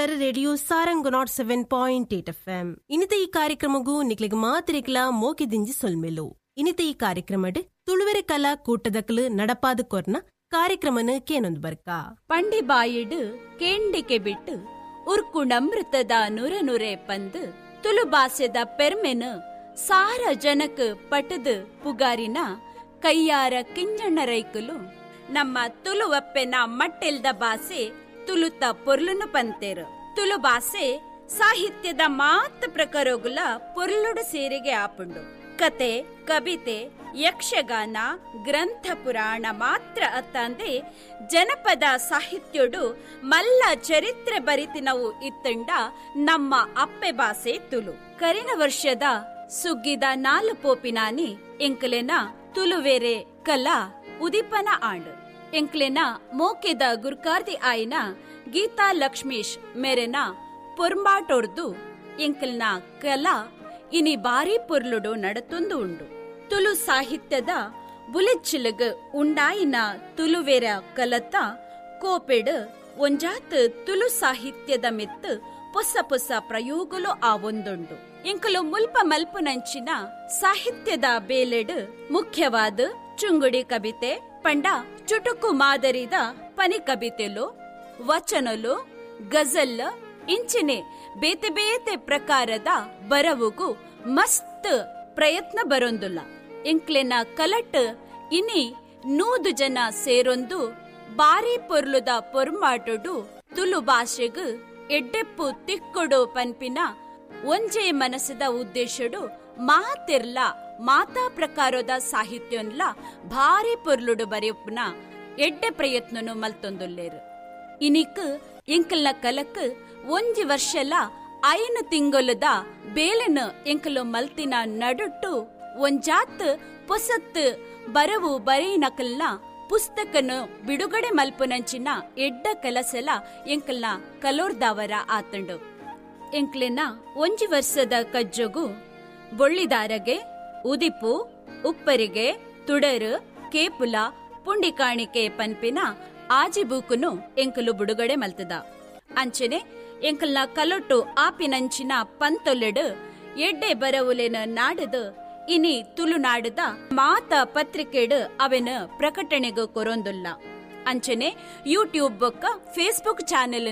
ಕೇನೊಂದುಲ್ಲರ radio Sarang 107.8 FM. ಇನಿತ ಈ ಕಾರ್ಯಕ್ರಮಗೂ ನಿಕ್ಲೆಗ್ ಮಾತಿರಿಕ್ಲ ಮೋಕೆ ದಿಂಜಿ ಸೊಲ್ಮೆಲು. ಇನಿತ ಈ ಕಾರ್ಯಕ್ರಮಡ್ ತುಳುವೆರೆ ಕಲಾ ಕೂಟದಕ್ಲು ನಡಪಾದ ಕೊರ್ನ ಕಾರ್ಯಕ್ರಮನ ಕೇನೊಂದು ಬರ್ಕ. ಪಂಡಿಬಾಯಿಡು ಕೇಂಡಿಕೆ ಬಿಟ್ಟು ಉರ್ಕುಣಮೃತದ ನುರೆ ನುರೆ ಪಂದು ತುಳುಬಾಸೆದ ಪೆರ್ಮೆನು ಸಾರ ಜನಕ್ ಪಟದು ಪುಗಾರಿನ ಕೈಯಾರ ಕಿಂಜಣ್ಣರೈಕುಲು ನಮ್ಮ ತುಳುವಪ್ಪೆನ ಮಟ್ಟೆಲ್ದ ಬಾಸೆ ತುಳುತ ಪೊರ್ಲುನು ಪಂತೇರು. ತುಳು ಬಾಸೆ ಸಾಹಿತ್ಯದ ಮಾತ್ ಪ್ರಕಾರಗುಲ ಪೊರ್ಲುಡು ಸೇರಿಗೆ ಆಪುಂಡು. ಕತೆ, ಕವಿತೆ, ಯಕ್ಷಗಾನ, ಗ್ರಂಥ ಪುರಾಣ ಮಾತ್ರ ಅತ್ತಂದೆ ಜನಪದ ಸಾಹಿತ್ಯಡು ಮಲ್ಲ ಚರಿತ್ರೆ ಬರಿತಿನವು ಇತ್ತಂಡ ನಮ್ಮ ಅಪ್ಪೆ ಬಾಸೆ ತುಳು. ಕರಿನ ವರ್ಷದ ಸುಗ್ಗಿದ ನಾಲು ಪೋಪಿನಾನಿ ಎಂಕಲೆನ ತುಳುವೇರೆ ಕಲಾ ಉದಿಪನ ಆಂಡ್. ಎಂಕ್ಲೆನ ಮೋಕೆದ ಗುರ್ಕಾರ್ದಿ ಆಯ್ನ ಗೀತಾ ಲಕ್ಷ್ಮೀಶ್ ಮೇರೆನ ಪೊರ್ಂಬಾಟೊರ್ದು ಎಂಕಲ್ನ ಕಲಾ ಇನಿ ಬಾರಿ ಪೊರ್ಲುಡು ನಡತೊಂದು ಉಂಡು. ತುಳು ಸಾಹಿತ್ಯದ ಬುಲೆಚ್ಚಿಲಗ್ ಉಂಡಾಯಿನ ತುಳುವೆರ ಕಲತ ಕೋಪೆಡ್ ಒಂಜಾತ್ ತುಳು ಸಾಹಿತ್ಯದ ಮಿತ್ತು ಪೊಸ ಪೊಸ ಪ್ರಯೋಗಲು ಆವೊಂದುಂಡು. ಎಂಕಲು ಮುಲ್ಪ ಮಲ್ಪುನಂಚಿನ ಸಾಹಿತ್ಯದ ಬೇಲೆಡ್ ಮುಖ್ಯವಾದ ಚುಂಗುಡಿ ಕವಿತೆ, ಪಂಡ ಚುಟುಕು ಮಾದರಿದ ಪನಿ ಕವಿತೆಲು, ವಚನಲು, ಗಜಲ್ ಇಂಚಿನೆ ಬೇತೆ ಬೇತೆ ಪ್ರಕಾರದ ಬರವುಗು ಮಸ್ತ್ ಪ್ರಯತ್ನ ಬರೊಂದುಲ್ಲ. ಎಂಕ್ಲೆನ ಕಲಟ್ ಇನಿ 100 ಜನ ಸೇರೊಂದು ಬಾರಿ ಪೊರ್ಲುದ ಪೊರ್ಮಾಟೊಡು ತುಳು ಭಾಷೆಗ್ ಎಡ್ಡೆಪ್ಪು ತಿಕ್ಕೊಡು ಪನ್ಪಿನ ಒಂಜೇ ಮನಸ್ಸದ ಉದ್ದೇಶಡು ಮಾತೆರ್ಲ ಮಾತಾ ಪ್ರಕಾರದ ಸಾಹಿತ್ಯನ್ಲ ಭಾರಿ ಪೊರ್ಲುಡು ಬರೆಯುಪ್ಪನ ಎಡ್ಡೆ ಪ್ರಯತ್ನನು ಮಲ್ತೊಂದುಲ್ಲೇರು. ಇನಿಕ್ ಎಂಕಲ್ನ ಕಲಕ್ ಒಂಜಿ ವರ್ಷಲ 5 ತಿಂಗೊಲದ ಬೇಲೆನ ಎಂಕಲು ಮಲ್ತಿನ ನಡುಟ್ಟು ಒಂಜಾತ್ ಪೊಸತ್ ಬರವು ಬರೆಯಿನಕಲ್ನ ಪುಸ್ತಕನು ಬಿಡುಗಡೆ ಮಲ್ಪುನಂಚಿನ ಎಡ್ಡ ಕೆಲಸಲ ಎಂಕಲ್ನ ಕಲೋರ್ದಾವರ ಆತಂಡು. ಎಂಕ್ಲೆನ ಒಂಜಿ ವರ್ಷದ ಕಜ್ಜೊಗು ಬೊಳ್ಳಿದಾರಗೆ, ಉದಿಪು, ಉಪ್ಪರಿಗೆ, ತುಡರು, ಕೇಪುಲ, ಪುಂಡಿಕಾಣಿಕೆ ಪನ್ಪಿನ ಆಜಿ ಬೂಕುನು ಎಂಕಲು ಬಿಡುಗಡೆ ಮಲ್ತದ. ಅಂಚನೆ ಎಂಕಲ್ನ ಕಲೊಟ್ಟು ಆಪಿನಂಚಿನ ಪಂತೊಲೆಡು ಎಡ್ಡೆ ಬರವುಲೆನ ನಾಡದು ಇನಿ ತುಳುನಾಡದ ಮಾತ ಪತ್ರಿಕೆಡು ಅವೆನ ಪ್ರಕಟಣೆಗೂ ಕೊರೊಂದುಲ್ಲ. ಅಂಚನೆ ಯೂಟ್ಯೂಬ್ ಬೊಕ್ಕ ಫೇಸ್ಬುಕ್ ಚಾನೆಲ್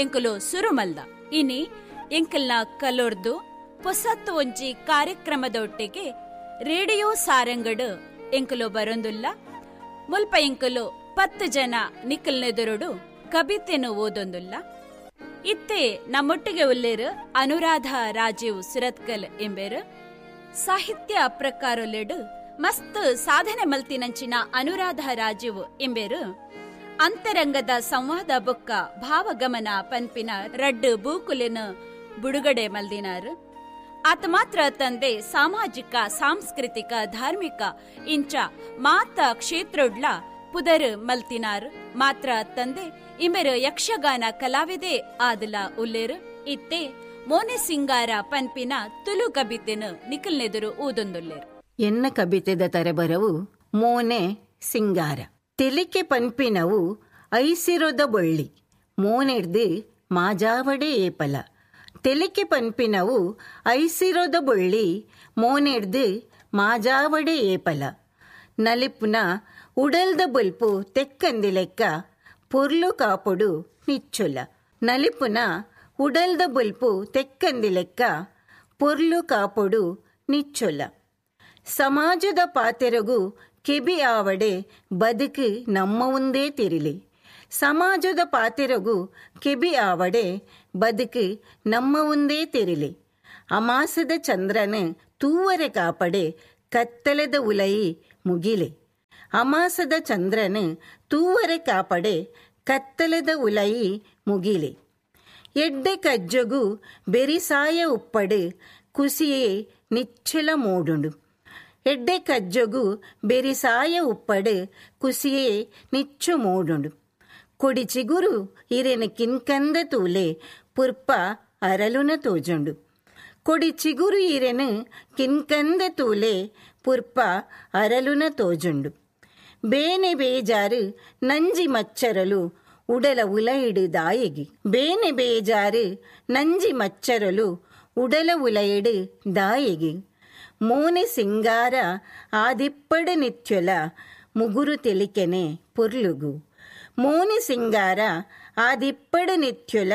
ಎಂಕಲು ಸುರುಮಲ್ದ. ಇನಿ ಎಂಕಲ್ನ ಕಲೊರ್ದು ಪೊಸತ್ತು ಒಂಜಿ ಕಾರ್ಯಕ್ರಮದೊಟ್ಟಿಗೆ ರೇಡಿಯೋ ಸಾರಂಗಡು ಎಂಕಲು ಬರೊಂದುಲ್ಲ. ಮುಲ್ಪ ಎಂಕಲು 10 ಜನ ನಿಕ್ಕಲ್ನೆದುರುಡು ಕವಿತೆನು ಓದೊಂದುಲ್ಲ. ಇತ್ತೆ ನಮ್ಮೊಟ್ಟಿಗೆ ಉಲ್ಲೇರು ಅನುರಾಧ ರಾಜೀವ್ ಸುರತ್ಕಲ್ ಎಂಬೇರು. ಸಾಹಿತ್ಯ ಪ್ರಕಾರೊಲೆಡು ಮಸ್ತ್ ಸಾಧನೆ ಮಲ್ತಿನಂಚಿನ ಅನುರಾಧ ರಾಜೀವ್ ಎಂಬೇರು ಅಂತರಂಗದ ಸಂವಾದ ಬೊಕ್ಕ ಭಾವಗಮನ ಪನ್ಪಿನ ರಡ್ಡು ಬೂಕುಲೆನ ಬಿಡುಗಡೆ ಮಲ್ದಿನಾರು. ಆತ ಮಾತ್ರ ತಂದೆ ಸಾಮಾಜಿಕ, ಸಾಂಸ್ಕೃತಿಕ, ಧಾರ್ಮಿಕ ಇಂಚ ಮಾತ ಕ್ಷೇತ್ರಡ್ಲ ಪುದರ್ ಮಲ್ತಿನಾರು. ಮಾತ್ರ ತಂದೆ ಇಂಬೆರು ಯಕ್ಷಗಾನ ಕಲಾವಿದೆ ಆದಲ ಉಲ್ಲೇರು. ಇತ್ತೆ ಮೋನೆ ಸಿಂಗಾರ ಪನ್ಪಿನ ತುಳು ಕಬಿತೆನು ನಿಖಲ್ನೆದುರು ಊದೊಂದುಲ್ಲೇರು. ಎನ್ನ ಕಬಿತೆದ ತರೆಬರವು ಮೋನೆ ಸಿಂಗಾರ. ತೆಲಿಕೆ ಪನ್ಪಿನವು ಐಸಿರೋದ ಬೊಳ್ಳಿ ಮೋನೆಡ್ದು ಮಾಜಾವಡೆ ಏಪಲ. ತೆಲಿಕೆ ಪನ್ಪಿನವು ಐಸಿರೋದ ಬೊಳ್ಳಿ ಮೋನೆಡ್ದು ಮಾಜಾವಡೆ ಏಪಲ. ನಲಿಪುನ ಉಡಲ್ದ ಬೊಲ್ಪು ತೆಕ್ಕಂದಿ ಲೆಕ್ಕ ಪೊರ್ಲು ಕಾಪೊಡು ನಿಚ್ಚೊಲ. ನಲಿಪುನ ಉಡಲ್ದ ಬೊಲ್ಪು ತೆಕ್ಕಂದಿ ಲೆಕ್ಕ ಪೊರ್ಲು ಕಾಪೊಡು ನಿಚ್ಚೊಲ. ಸಮಾಜದ ಪಾತೆರಗು ಕೆಬಿ ಆವಡೆ ಬದುಕು ನಮ್ಮ ಒಂದೇ ತಿರಿಲಿ. ಸಮಾಜದ ಪಾತೆರಗು ಕೆಬಿ ಆವಡೆ ಬದುಕು ನಮ್ಮ ಒಂದೇ ತಿರಿಲಿ. ಅಮಾಸದ ಚಂದ್ರನ ತೂವರೆ ಕಾಪಡೆ ಕತ್ತಲೆದ ಉಲಯಿ ಮುಗಿಲೆ. ಅಮಾಸದ ಚಂದ್ರನ ತೂವರೆ ಕಾಪಡೆ ಕತ್ತಲೆದ ಉಲಯಿ ಮುಗಿಲೆ. ಎಡ್ಡೆ ಕಜ್ಜಗು ಬೆರಿಸಾಯ ಉಪ್ಪಡು ಕುಸಿಯೇ ನಿಚ್ಚಲ ಮೋಡುಂಡು. ಎಡ್ಡೆ ಕಜ್ಜಗು ಬೆರಿಸಾಯ ಉಪ್ಪಡು ಕುಸಿಯೇ ನಿಚ್ಚು ಮೋಡುಂಡು. ಕೊಡಿ ಚಿಗುರು ಇರೆನ ಕಿನ್ಕಂದ ತೂಲೆ ಪುರ್ಪ ಅರಲುನ ತೋಜುಂಡು. ಕೊಡಿ ಚಿಗುರು ಇರೆನ ಕಿನ್ಕಂದ ತೂಲೆ ಪುರ್ಪ ಅರಲುನ ತೋಜುಂಡು. ಬೇನೆ ಬೇಜಾರು ನಂಜಿ ಮಚ್ಚರಲು ಉಡಲ ಉಲೈಡು ದಾಯೆಗೆ ಬೇನೆ ಬೇಜಾರು ನಂಜಿ ಮಚ್ಚರಲು ಉಡಲ ಉಲೈಡು ದಾಯೆಗೆ ಮೋನೆ ಸಿಂಗಾರ ಆದಿಪ್ಪಡು ನಿತ್ಯಲ ಮುಗುರು ತೆಲಿಕೆನೆ ಪೊರ್ಲುಗು ಮೋನೆ ಸಿಂಗಾರ ಆದಿಪ್ಪಡು ನಿತ್ಯಲ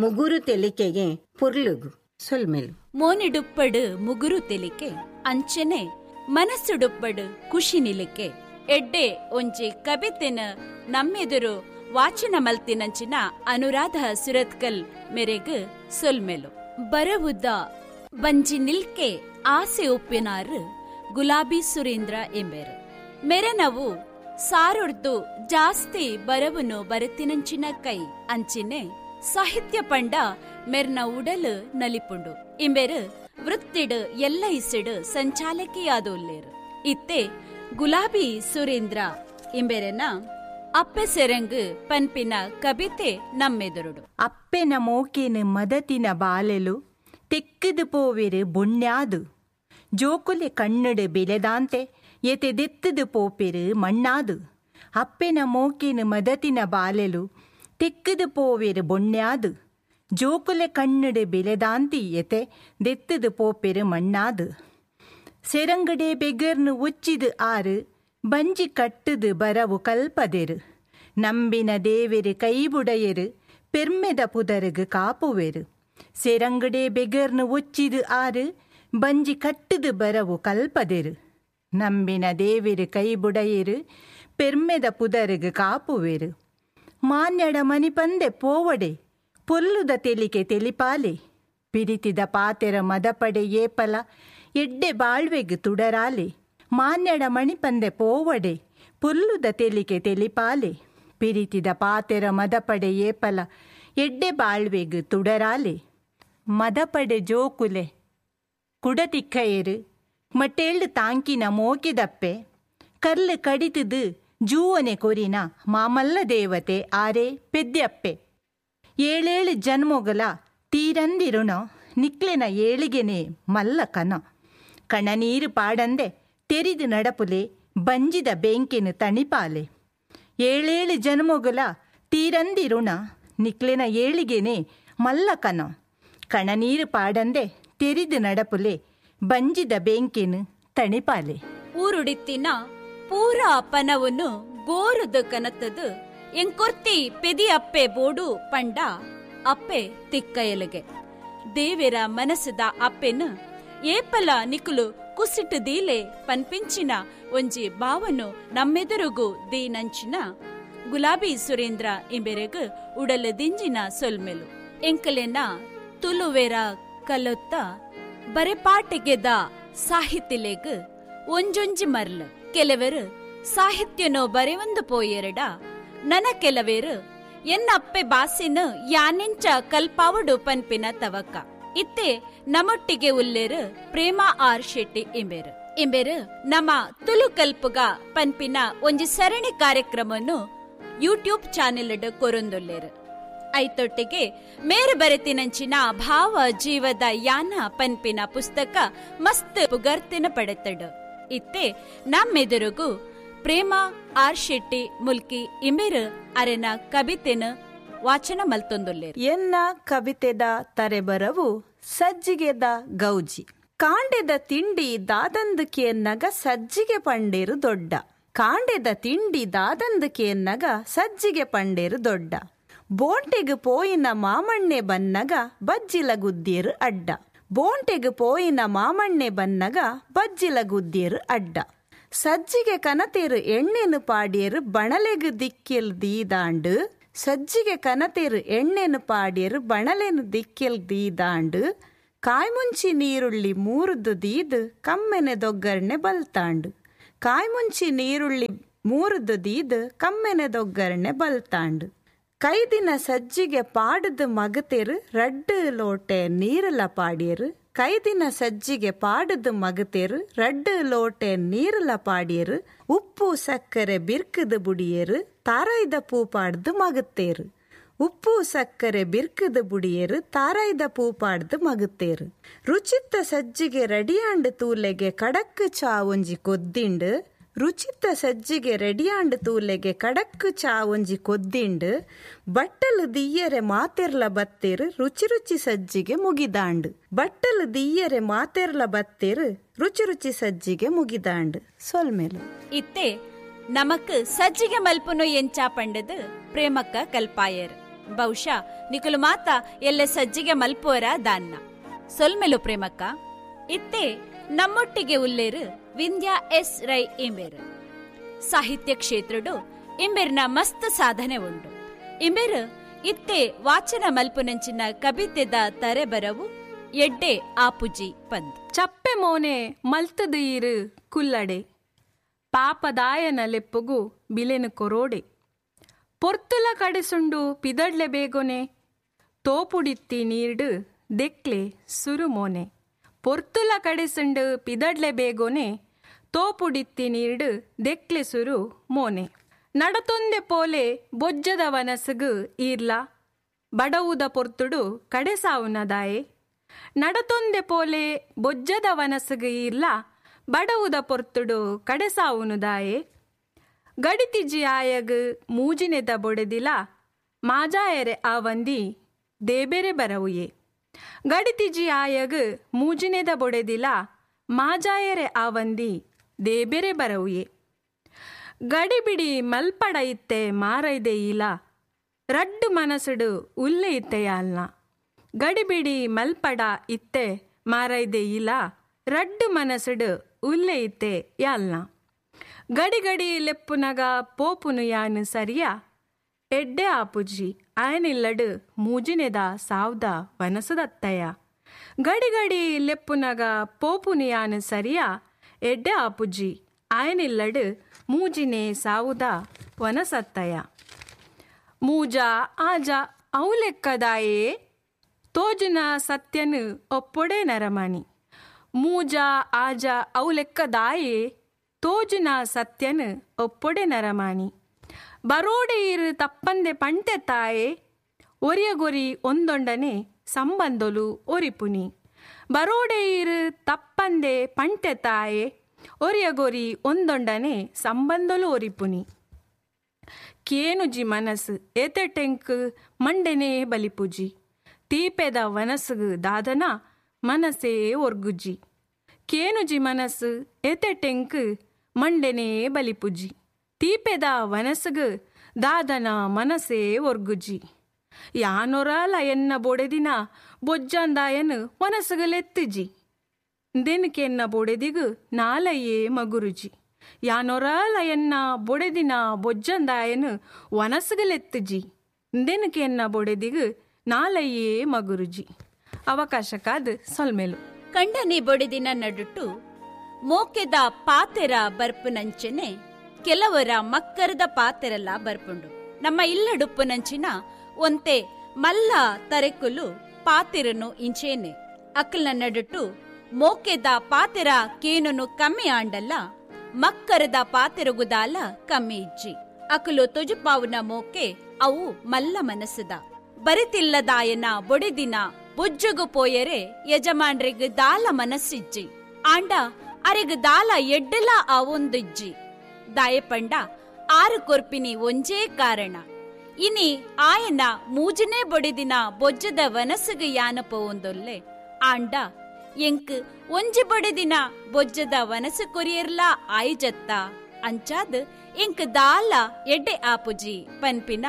ಮುಗುರು ತೆಲಿಕೆಗೆ ಪೊರ್ಲುಗು ಸೊಲ್ಮೆಲು. ಮೋನಿಡುಪ್ಪಡು ಮುಗುರು ತೆಲಿಕೆ ಅಂಚನೆ ಮನಸ್ಸುಡುಪ್ಪಡು ಖುಷಿ ನಿಲಿಕೆ ಎಡ್ಡೆ ಒಂಜಿ ಕಬಿತೆನ ನಮ್ಮೆದುರು ವಾಚನ ಮಲ್ತಿನಂಚಿನ ಅನುರಾಧ ಸುರತ್ಕಲ್ ಮೆರೆಗ್ ಸೊಲ್ಮೆಲು. ಬರವುದ ಬಂಜಿ ನಿಲ್ಕೆ ಆಸೆ ಉಪ್ಪಿನಾರು ಗುಲಾಬಿ ಸುರೇಂದ್ರ ಎಂಬೆರು. ಮೆರನವು ಸಾರೊಡ್ದು ಜಾಸ್ತಿ ಬರವುನು ಬರತಿನಂಚಿನ ಕೈ ಅಂಚಿನೆ ಸಾಹಿತ್ಯ ಪಂಡ ಮೆರ್ನ ಉಡಲು ನಲಿಪುಂಡು. ಇಂಬೆರು ವೃತ್ತಿಡು ಎಲ್ಲ ಇಸಿಡು ಸಂಚಾಲಕಿಯಾದೋಲ್ಲೇರು. ಇತ್ತೆ ಗುಲಾಬಿ ಸುರೇಂದ್ರ ಇಂಬೆರೆನ ಅಪ್ಪೆ ಸೆರಂಗು ಪನ್ಪಿನ ಕವಿತೆ ನಮ್ಮೆದುರುಡು. ಅಪ್ಪೆನ ಮೋಕೆನು ಮದತಿನ ಬಾಲೆಲು ತೆಕ್ಕದು ಪೋವೆರು ಬೊಣ್ಯಾದು ಜೋಕುಲೆ ಕಣ್ಣಡು ಬೆಲೆದಾಂತೆ ಎತೆದೆತ್ತದು ಪೋಪೆರು ಮಣ್ಣಾದು. ಅಪ್ಪೆನ ಮೋಕೆನು ಮದತಿನ ಬಾಲೆಲು ತೆಕ್ಕದು ಪೋವೆರು ಬೊಣ್ಯಾದು ಜೋಕುಲೆ ಕಣ್ಣಡು ಬೆಲೆದಾಂತಿ ಎತೆ ದೆತ್ತದು ಪೋಪೆರು ಮಣ್ಣಾದು. ಸೆರಂಗಡೆ ಬೆಗರ್ನು ಒಚ್ಚಿದು ಆರು ಬಂಜಿ ಕಟ್ಟುದು ಬರವು ಕಲ್ಪದೆರು ನಂಬಿನ ದೇವೆರು ಕೈಬುಡೆಯರು ಪೆರ್ಮೆದ ಪುದರುಗು ಕಾಪುವೆರು. ಸೆರಂಗಡೆ ಬೆಗರ್ನು ಒಚ್ಚಿದು ಆರು ಬಂಜಿ ಕಟ್ಟುದು ಬರವು ಕಲ್ಪದೆರು ನಂಬಿನ ದೇವೆರು ಕೈಬುಡೆಯರು ಪೆರ್ಮೆದ ಪುದರುಗು ಕಾಪುವೆರು. ಮಾನ್ಯಡ ಮನಿಪಂದೆ ಪೋವಡೆ ಪೊಲ್ಲುದ ತೆಲಿಕೆ ತೆಲಿಪಾಲೆ ಪಿರಿತಿದ ಪಾತೆರ ಮದಪಡೆ ಏಪಲ ಎಡ್ಡೆ ಬಾಳ್ವೆಗ್ ತುಡರಾಲೆ. ಮಾನ್ಯಡ ಮಣಿಪಂದೆ ಪೋವಡೆ ಪೊಲ್ಲುದ ತೆಲಿಕೆ ತೆಲಿಪಾಲೆ ಪಿರಿತಿದ ಪಾತೆರ ಮದಪಡೆ ಏಪಲ ಎಡ್ಡೆ ಬಾಳ್ವೆಗ್ ತುಡರಾಲೆ. ಮದಪಡೆ ಜೋಕುಲೆ ಕುಡತಿಕ್ಕಯರು ಮಟ್ಟೇಳ್ಳು ತಾಂಕಿನ ಮೋಕಿದಪ್ಪೆ ಕಲ್ಲು ಕಡಿತದು ಜೂವನೆ ಕೊರಿನ ಮಾಮಲ್ಲ ದೇವತೆ ಆರೆ ಪೆದ್ಯಪ್ಪೆ. ಏಳೇಳು ಜನ್ಮೊಗಲ ತೀರಂದಿರುಣೋ ನಿಕ್ಲೆನ ಏಳಿಗೆನೆ ಮಲ್ಲ ಕನ ಕಣನೀರು ಪಾಡಂದೆ ತೆರಿದು ನಡಪುಲೆ ಬಂಜಿದ ಬೆಂಕಿನ ತಣಿಪಾಲೆ. ಏಳೇಳು ಜನ್ಮೊಗಲ ತೀರಂದಿರುಣ ನಿಕ್ಲೆನ ಏಳಿಗೆನೆ ಮಲ್ಲ ಕನ ಕಣನೀರು ಪಾಡಂದೆ ತೆರಿದು ನಡಪುಲೆ ಬಂಜಿದ ಬೆಂಕಿನ ತಣಿಪಾಲೆ. ಊರುಡಿತ್ತಿನ ಪೂರಾ ಪನವನ್ನು ಗೋರುದು ಕನತದು ಎಂಕೊರ್ತಿ ಪೆದಿ ಅಪ್ಪೆ ಬೋಡು ಪಂಡ ಅಪ್ಪೆ ತಿಕ್ಕಯಲುಗೆ. ದೇವೆರ ಮನಸ್ಸುದ ಅಪ್ಪೆನು ಏಪಲ ನಿಕುಲು ಕುಸಿಟ್ಟು ದೀಲೆ ಪನ್ಪಿಂಚಿನ ಒಂಜಿ ಭಾವನು ನಮ್ಮೆದುರುಗು ದೀನಂಚಿನ ಗುಲಾಬಿ ಸುರೇಂದ್ರ ಇಂಬೆರೆಗು ಉಡಲ ದಿಂಜಿನ ಸೊಲ್ಮೆಲು. ಎಂಕಲೆನ ತುಲುವೆರ ಕಲೊತ್ತ ಬರೆಪಾಟಿಗೆದ ಸಾಹಿತ್ಯಲೆಗ್ ಒಂಜೊಂಜಿ ಮರ್ಲು. ಕೆಲವರು ಸಾಹಿತ್ಯನೋ ಬರೆವಂದು ಪೋಯೆರಡ ನನ ಕೆಲವೇರು ಎನ್ನ ಅಪ್ಪೆ ಬಾಸಿನ ಯಾನೆಂಚ ಕಲ್ಪಾವಡು ಪನ್ಪಿನ ತವಕ. ಇತ್ತೆ ನಮ್ಮೊಟ್ಟಿಗೆ ಉಲ್ಲೇರು ಪ್ರೇಮ ಆರ್ ಶೆಟ್ಟಿ ಇಂಬೆರು. ಇಂಬೆರು ನಮ್ಮ ತುಲು ಕಲ್ಪುಗ ಪನ್ಪಿನ ಒಂಜಿ ಸರಣಿ ಕಾರ್ಯಕ್ರಮವನ್ನು ಯೂಟ್ಯೂಬ್ ಚಾನೆಲ್ ಕೊರೊಂದುಲ್ಲೇರು. ಐತೊಟ್ಟಿಗೆ ಮೇರು ಬರೆತಿನಂಚಿನ ಭಾವ ಜೀವದ ಯಾನ ಪನ್ಪಿನ ಪುಸ್ತಕ ಮಸ್ತ್ ಪುಗರ್ತಿನ ಪಡೆತಡು. ಇತ್ತೆ ನಮ್ಮೆದುರುಗು ಪ್ರೇಮ ಆರ್ ಶೆಟ್ಟಿ ಮುಲ್ಕಿ ಇಂಬೆರು ಅರೆನ ಕವಿತೆನ ವಾಚನ ಮಲ್ತೊಂದುಲ್ಲೇರು. ಎನ್ನ ಕವಿತೆದ ತರೆಬರವು ಸಜ್ಜಿಗೆದ ಗೌಜಿ. ಕಾಂಡೆದ ತಿಂಡಿ ದಾದಂದುಕೇನ್ನಗ ಸಜ್ಜಿಗೆ ಪಂಡೇರು ದೊಡ್ಡ. ಕಾಂಡೆದ ತಿಂಡಿ ದಾದಂದುಕೇನ್ನಗ ಸಜ್ಜಿಗೆ ಪಂಡೇರು ದೊಡ್ಡ. ಬೋಂಟೆಗು ಪೋಯಿನ ಮಾಮಣ್ಣೆ ಬನ್ನಗ ಬಜ್ಜಿಲ ಗುದ್ದಿಯರು ಅಡ್ಡ. ಬೋಂಟೆಗು ಪೋಯಿನ ಮಾಮಣ್ಣೆ ಬನ್ನಗ ಬಜ್ಜಿಲ ಗುದ್ದಿಯರು ಅಡ್ಡ. ಸಜ್ಜಿಗೆ ಕನತೇರು ಎಣ್ಣೆನು ಪಾಡಿಯರು ಬಣಲೆಗು ದಿಕ್ಕೆಲ್ ದೀದಾಂಡು. ಸಜ್ಜಿಗೆ ಕನತೇರು ಎಣ್ಣೆನು ಪಾಡಿಯರು ಬಣಲೆನು ದಿಕ್ಕೆಲ್ ದೀದಾಂಡು. ಕಾಯ್ಮುಂಚಿ ನೀರುಳ್ಳಿ ಮೂರುದು ದೀದು ಕಮ್ಮೆನೆ ದೊಗ್ಗರ್ಣೆ ಬಲ್ತಾಂಡು. ಕಾಯ್ಮುಂಚಿ ನೀರುಳ್ಳಿ ಮೂರುದು ದೀದು ಕಮ್ಮೆನೆ ದೊಗ್ಗರ್ಣೆ ಬಲ್ತಾಂಡು. ಕೈದಿನ ಸಜ್ಜಿಗೆ ಪಾಡದು ಮಗತೇರು ರಡ್ಡು ಲೋಟೆ ನೀರಲ ಪಾಡಿಯರು. ಕೈದಿನ ಸಜ್ಜಿಗೆ ಪಾಡದು ಮಗತೇರು ರಡ್ಡು ಲೋಟೆ ನೀರಲ ಪಾಡಿಯರು. ಉಪ್ಪು ಸಕ್ಕರೆ ಬಿರ್ಕದು ಬುಡಿಯರು ತಾರಾಯ್ದ ಪೂ ಪಾಡ್ದು ಮಗತೇರು. ಉಪ್ಪು ಸಕ್ಕರೆ ಬಿರ್ಕದು ಬುಡಿಯರು ತಾರಾಯ್ದ ಪೂ ಪಾಡ್ದು ಮಗತೇರು. ರುಚಿತ್ತ ಸಜ್ಜಿಗೆ ರಡಿಯಾಂಡು ತೂಲೆಗೆ ಕಡಕ್ಕು ಚಾ ಒಂಜಿ ಕೊದ್ದಿಂಡು. ರುಚಿತ ಸಜ್ಜಿಗೆ ರೆಡಿಯಾಂಡ್ ತೂಲೆಗೆ ಕಡಕ್ ಚಾ ಒಂಜಿ ಕೊದ್ದಿಂಡು ಬಟ್ಟಲು ದಿಯ್ಯರೆ ಮಾತೆರ್ಲ ಬತ್ತೇರು ರುಚಿ ರುಚಿ ಸಜ್ಜಿಗೆ ಮುಗಿದಾಂಡು. ಬಟ್ಟಲು ದಿಯ್ಯರೆ ಮಾತೆರ್ಲ ಬತ್ತೇರು ರುಚಿ ರುಚಿ ಸಜ್ಜಿಗೆ ಮುಗಿದಾಂಡು. ಸೊಲ್ಮೇಲು ಇತ್ತೆ ನಮಕ್ ಸಜ್ಜಿಗೆ ಮಲ್ಪುನು ಎಂಚಾ ಪಂಡದು ಪ್ರೇಮಕ್ಕ ಕಲ್ಪಾಯರ್. ಬಹುಶಃ ನಿಕುಲು ಮಾತ ಎಲ್ಲ ಸಜ್ಜಿಗೆ ಮಲ್ಪುವರ ದಾನ್ನ. ಸೊಲ್ಮೆಲು ಪ್ರೇಮಕ್ಕ. ಇತ್ತೆ ನಮ್ಮೊಟ್ಟಿಗೆ ಉಲ್ಲೇರು ವಿಂಧ್ಯಾ ಎಸ್ ರೈ ಇಂಬೇರು. ಸಾಹಿತ್ಯ ಕ್ಷೇತ್ರಡು ಇಂಬೇರ್ನ ಮಸ್ತ್ ಸಾಧನೆ ಉಂಡು. ಇಂಬೇರು ಇತ್ತೆ ವಾಚನ ಮಲ್ಪುನಂಚಿನ ಕವಿತೆದ ತರೆಬರವು ಎಡ್ಡೆ ಆಪುಜಿ ಪಂದ್. ಚಪ್ಪೆ ಮೋನೆ ಮಲ್ತದು ಈರು ಕುಲ್ಲಡೆ, ಪಾಪದಾಯನ ಲೆಪ್ಪುಗು ಬಿಲೆನು ಕೊರೋಡೆ, ಪೊರ್ತುಲ ಕಡೆಸುಂಡು ಪಿದಡ್ಲೆ ಬೇಗೊನೆ, ತೋಪುಡಿತ್ತಿ ನೀರ್ಡು ದೆಕ್ಲೆ ಸುರುಮೋನೆ, ಪೊರ್ತುಲ ಕಡೆಸುಂಡು ಪಿದಡ್ಲೆ ಬೇಗೊನೆ, ತೋಪುಡಿತ್ತಿ ನೀರ್ಡು ದೆಕ್ಲೆ ಸುರು ಮೋನೆ, ನಡತೊಂದೆ ಪೋಲೆ ಬೊಜ್ಜದ ವನಸುಗು ಈರ್ಲ, ಬಡವುದ ಪೊರ್ತುಡು ಕಡೆಸಾವುನದಾಯೆ, ನಡತೊಂದೆ ಪೋಲೆ ಬೊಜ್ಜದ ವನಸುಗು ಈರ್ಲ, ಬಡವುದ ಪೊರ್ತುಡು ಕಡೆಸಾವುನುದಾಯೆ, ಗಡಿತಿಜಿ ಆಯಗ್ ಮೂಜಿನೆದ ಬೊಡೆದಿಲ, ಮಾಜಾಯರೆ ಆವಂದಿ ದೇಬೆರೆ ಬರವುಯೆ, ಗಡಿತಿಜಿ ಆಯಗ್ ಮೂಜಿನೆದ ಬೊಡೆದಿಲ, ಮಾಜಾಯರೆ ಆವಂದಿ ದೇಬೆರೆ ಬರವುಯೆ, ಗಡಿಬಿಡಿ ಮಲ್ಪಡ ಇತ್ತೆ ಮಾರೈದೆ ಇಲ, ರಡ್ಡು ಮನಸುಡು ಉಲ್ಲೆ ಇತ್ತೆಯಾಲ್ನ, ಗಡಿಬಿಡಿ ಮಲ್ಪಡ ಇತ್ತೆ ಮಾರೈದೆ ಇಲ, ರಡ್ಡು ಮನಸುಡು ಉಲ್ಲೆ ಇತ್ತೆ ಯಾಲ್ನ, ಗಡಿ ಗಡಿ ಲೆಪ್ಪುನಗ ಪೋಪುನು ಯಾನು ಸರಿಯಾ, ಎಡ್ಡೆ ಆಪುಜಿ ಆಯನಿಲ್ಲಡು ಮೂಜಿನೆದ ಸಾವ್ದ ವನಸದತ್ತಯ, ಗಡಿ ಗಡಿ ಲೆಪ್ಪುನಗ ಪೋಪುನು ಯಾನು ಸರಿಯಾ, ಎಡ್ಡೆ ಆಪುಜಿ ಆಯನಿಲ್ಲಡು ಮೂಜಿನೆ ಸಾವುದ ವನಸತ್ತಯ, ಮೂಜ ಆಜ ಔಲೆಕ್ಕದಾಯೇ ತೋಜುನ ಸತ್ಯನು ಒಪ್ಪೊಡೆ ನರಮಣಿ, ಮೂಜ ಆಜ ಔಲೆಕ್ಕದಾಯೇ ತೋಜುನ ಸತ್ಯನು ಒಪ್ಪೊಡೆ ನರಮಾಣಿ, ಬರೋಡೆ ಇರು ತಪ್ಪಂದೆ ಪಂಟೆ ತಾಯೆ, ಒರಿಯಗೊರಿ ಒಂದೊಂಡನೆ ಸಂಬಂಧೊಲು ಒರಿಪುನಿ, ಬರೋಡೆ ಇರು ತಪ್ಪಂದೆ ಪಂಟೆ ತಾಯೆ, ಒರಿಯಗೊರಿ ಒಂದೊಂಡನೆ ಸಂಬಂಧೊಲು ಒರಿಪುನಿ, ಕೇನುಜಿ ಮನಸ್ಸು ಏತೆಟೆಂಕ್ ಮಂಡೆನೇ ಬಲಿಪುಜಿ, ತೀಪೆದ ವನಸುಗು ದಾದನ ಮನಸ್ಸೇ ಒರ್ಗುಜಿ, ಕೇನುಜಿ ಮನಸ್ಸು ಏತೆಟೆಂಕ್ ಮಂಡೆನೇ ಬಲಿಪುಜಿ, ತೀಪೆದ ವನಸುಗು ದಾದನ ಮನಸ್ಸೇ ಒರ್ಗುಜಿ, ಯಾನೊರಾಲ ಎನ್ನ ಬೊಡೆದಿನ ಬೊಜ್ಜಂದಾಯನು ವನಸುಗಲೆತ್ತಿಜಿ, ದೆನಕೆನ್ನ ಬೊಡೆದಿಗು ನಾಲಯೇ ಮಗುರುಜಿ, ಯಾನೊರಾಲ ಎನ್ನ ಬೊಡೆದಿನ ಬೊಜ್ಜಂದಾಯನು ವನಸುಗಲೆತ್ತಿಜಿ, ದೆನಕೆನ್ನ ಬೊಡೆದಿಗು ನಾಲಯೇ ಮಗುರುಜಿ. ಅವಕಾಶಕ್ಕಾದ ಸೊಲ್ಮೇಲು. ಕಂಡನಿ ಬೊಡೆದಿನ ನಡುಟು ಮೋಕೆದ ಪಾತೆರ ಬರ್ಪುನಂಚನೆ ಕೆಲವರ ಮಕ್ಕರದ ಪಾತೆರೆಲ್ಲ ಬರ್ಪುಂಡು. ನಮ್ಮ ಇಲ್ಲಡುಪ್ಪುನಂಚಿನ ಒಂತೆ ಮಲ್ಲ ತರೆಕುಲು ಪಾತೆರನು ಇಂಚೇನೆ. ಅಕ್ಕಲ್ನ ನಡುಟು ಮೋಕೆದ ಪಾತೆರ ಕೇನುನು ಕಮ್ಮಿ ಆಂಡಲ್ಲ, ಮಕ್ಕರದ ಪಾತೆರಗುದಾಲ ಕಮ್ಮಿ ಇಜ್ಜಿ. ಅಕಲು ತೊಜುಪಾವುನ ಮೋಕೆ ಅವು ಮಲ್ಲ ಮನಸ್ಸದ. ಬರಿತಿಲ್ಲದಾಯನ ಬೊಡೆದಿನ ಬೊಜ್ಜುಗು ಪೋಯರೆ ಯಜಮಾನ್ರಿಗ್ ದಾಲ ಮನಸ್ಸಿಜ್ಜಿ, ಆಂಡ ಅರೆಗ್ ದಾಲ ಎಡ್ಡಲ ಆವೊಂದಿಜ್ಜಿ. ದಾಯಪಂಡ ಆರು ಕೊರ್ಪಿನಿ ಒಂಜೇ ಕಾರಣ, ಇನಿ ಆಯನ ಮೂಜನೇ ಬೊಡೆದಿನ ಬೊಜ್ಜದ ವನಸುಗು ಯಾನ ಪೋವೊಂದೊಲ್ಲೆ, ಆಂಡ ಎಂಕ್ ಒಂಜಿ ಬೊಡೆದಿನ ಬೊಜ್ಜದ ವನಸು ಕೊರಿಯರ್ಲಾ ಆಯ್ಜತ್ತ, ಅಂಚಾದ್ ಎಂಕ್ ದಾಲ ಎಡ್ಡೆ ಆಪುಜಿ ಪನ್ಪಿನ